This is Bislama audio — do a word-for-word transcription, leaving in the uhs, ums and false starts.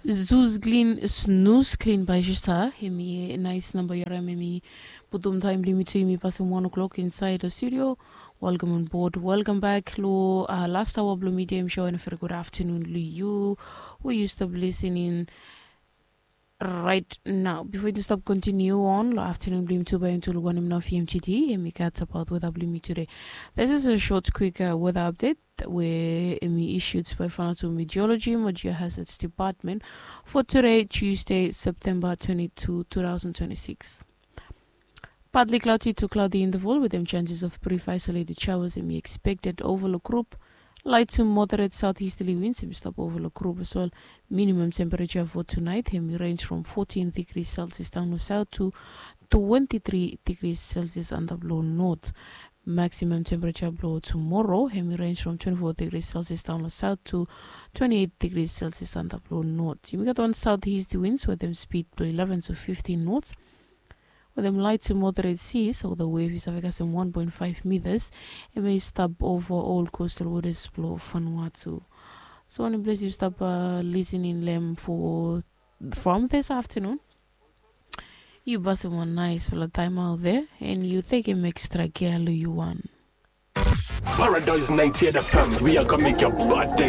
Zus klin, snus klin bae sista. Hemi nais namba yu harim, hemi putum taem blong yumi tu, yumi pasem wan o'clock insaed long studio. Welcome on board, welcome back long, uh, last hour blong Midem Show, and a very good afternoon long yu we yu stap listening right now. Before yu stap continue on long afternoon blong yumi tu, bae yumi tu luk wanem nao fi yumi today, hemi gat abaot weather blong yumi today. This is a short quick, uh, weather update we hemi issued by Vanuatu Meteorology mo Geohazards Department for today, Tuesday, September twenty-two, two thousand twenty-six. Partly cloudy to cloudy interval with dem chances of brief isolated showers hemi expected over long group. Light to moderate southeasterly winds hemi stap over long group as well. Minimum temperature for tonight hemi range from fourteen degrees Celsius down long south to twenty-three degrees Celsius antap long north. Maximum temperature blong tomorrow hemi range from twenty-four degrees Celsius down long south to twenty-eight degrees Celsius antap long north. Yumi gat wan southeast winds with dem speed blong eleven to fifteen knots, with dem light to moderate seas, o the wave i save kasem one point five meters. Hemi stap over all coastal waters blong Vanuatu. So wanem ples yu stap, uh, listening long hem for from this afternoon, yu pasem wan naesfala taem out there, and yu tekem extra care long yu wan. Paradise ninety-eight F M, we are gonna make your bad day